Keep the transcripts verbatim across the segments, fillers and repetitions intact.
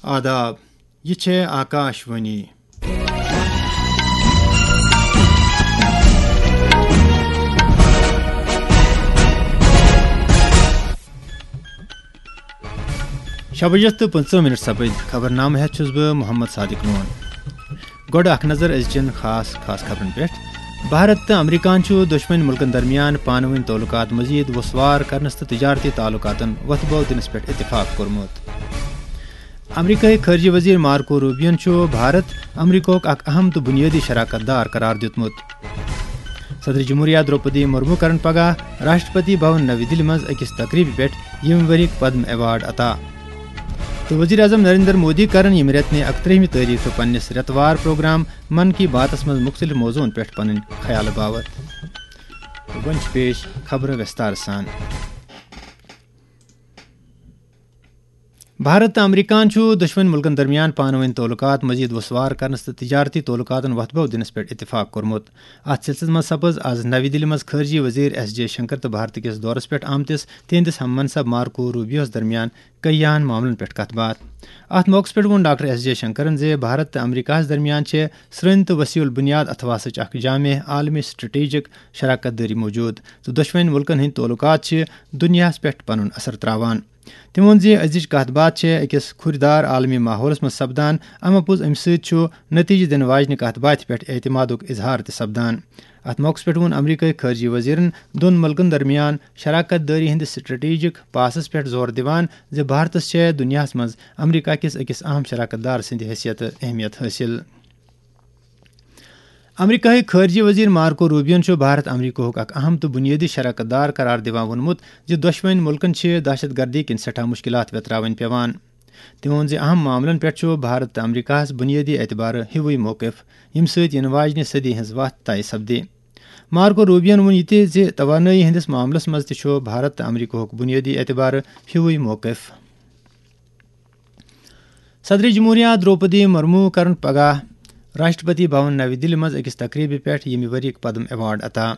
آداب، یہِ چھےٚ آکاش وانی۔ شےٚ بجے تہٕ پٕنٛژٕہ مِنٹ سپٕدۍ۔ خبرنامہٕ ہٮ۪تھ چھُس بہٕ محمد صادق لون۔ گۄڈٕ اکھ نظر أزچٮ۪ن خاص خاص خبرن پٮ۪ٹھ۔ بھارت تہٕ امریکہن چھُ دۄشوٕنۍ مُلکن درمیان پانہٕ وٲنۍ تعلقات مزید وسوار کرنس تہٕ تجارتی تعلقاتن وۄتھٕ بو دِنس پٮ۪ٹھ اتفاق کوٚرمُت۔ امریکہٕکۍ خارجہ وزیر مارکو روبیون چھُ بھارت امریکہُک اکھ اہم تہٕ بنیٲدی شراکت دار قرار دیُتمُت۔ صدر جمہوریہ درٛوپدی مرمو کرن پگاہ راشٹرپتی بھون نوی دِلہِ منٛز أکِس تقریبہِ پٮ۪ٹھ ییٚمہِ ؤریُک پدم ایوارڈ عطا۔ تہٕ وزیر اعظم نریندر مودی کرن ییٚمہِ رٮ۪تہٕ نہِ اکترٛہمہِ تٲریخہٕ پننِس رٮ۪تہٕ وار پروگرام من کی باتس منٛز مُختٔلِف موضوعن پٮ۪ٹھ پنٕنۍ خیال باوت۔ تہٕ وۄنۍ چھِ پیش خبرٕ وِستار سان۔ بھارت تہٕ امریکہن چھُ دۄشوٕنۍ مُلکن درمیان پانہٕ وٲنۍ تعلقات مزید وسوار کرنس تہٕ تجارتی تعلقاتن وۄتھٕ بو دِنس پٮ۪ٹھ اتفاق کوٚرمُت۔ اتھ سلسلس منٛز سپٕز از نوی دِلہِ منٛز خارجہ وزیر ایس جے شنکر تہٕ بھارت کِس دورس پٮ۪ٹھ آمتِس تِہنٛدِس ہم منصب مارکو روبیوس درمیان کئی اہم معاملن پٮ۪ٹھ کتھ باتھ۔ اتھ موقعس پٮ۪ٹھ ووٚن ڈاکٹر ایس جے شنکرن زِ بھارت تہٕ امریکہس درمیان چھِ سرٛنۍ تہٕ وسیع البنیاد اتھواسٕچ اکھ جامع عالمی سٹریٹجک شراکت دٲری موجود تہٕ دۄشوٕنۍ مُلکن ہٕنٛدۍ تعلقات چھِ دُنیاہس پٮ۪ٹھ پنُن اثر تراوان۔ تٔمۍ ووٚن زِ أزِچ کتھ باتھ چھےٚ أکِس کھُرۍ دار عالمی ماحولس منٛز سپدان، اما پوٚز امہِ سۭتۍ چھُ نتیجہٕ دِنہٕ واجنہِ کتھ باتھِ پٮ۪ٹھ اعتمادُک اظہار تہِ سپدان۔ اتھ موقعس پٮ۪ٹھ ووٚن امریکہٕکۍ خارجہ وزیرن دۄن مُلکن درمیان شراکت دٲری ہٕنٛدِس سٹریٹجک پاسس پٮ۪ٹھ زور دِوان زِ بھارتس چھےٚ دُنیاہس منٛز امریکہ کِس أکِس اہم شراکت دار سٕنٛدِ حیثیتہٕ اہمیت حٲصِل۔ امریکہٕکۍ خارجہ وزیر مارکو روبیون چھُ بھارت امریکہُک اکھ اہم تہٕ بنیٲدی شراکت دار قرار دِوان ووٚنمُت زِ دۄشوٕنۍ مُلکن چھِ دہشت گردی کِنۍ سٮ۪ٹھاہ مُشکلات ویتراوٕنۍ پیوان۔ تٔمۍ ووٚن زِ اہم معاملن پٮ۪ٹھ چھُ بھارت تہٕ امریکہس بنیٲدی اعتبارٕ ہیوُے موقف، ییٚمہِ سۭتۍ یِنہٕ واجنہِ صدی ہٕنٛز وتھ طے سپدِ۔ مارکو روبیون ووٚن یہِ تہِ زِ توانٲیی ہٕنٛدِس معاملس منٛز تہِ چھُ بھارت تہٕ امریکہُک بنیٲدی اعتبارٕ ہیوُے موقف۔ صدر جمہوریہ درٛوپدی مرمو کرن پگاہ راشٹرپتی بھون نوی دِلہِ منٛز أکِس تقریبہِ پٮ۪ٹھ ییٚمہِ ؤریُک پدم ایوارڈ عطا۔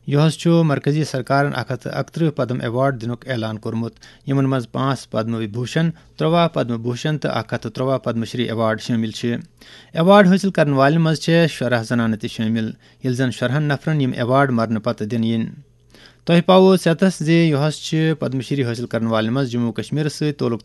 یُہس چھُ مرکزی سرکارن اکھ ہتھ تہٕ اکترٕہ پدم ایوارڈ دِنُک اعلان کوٚرمُت، یِمن منٛز پانٛژھ پدم وبھوشن، ترٛواہ پدم بھوشن تہٕ اکھ ہتھ تہٕ ترٛواہ پدم شری ایوارڈ شٲمِل چھِ۔ ایوارڈ حٲصِل کرن والٮ۪ن منٛز چھےٚ شُراہ زنانہٕ تہِ شٲمِل، ییٚلہِ زن شُراہن نفرن یِم ایوارڈ مرنہٕ پتہٕ دِنہٕ یِن۔ تۄہہِ پاوو ژٮ۪تس زِ یُہس چھِ پدم شری حٲصِل کرن والٮ۪ن منٛز جموں و کشمیرس سۭتۍ تعلق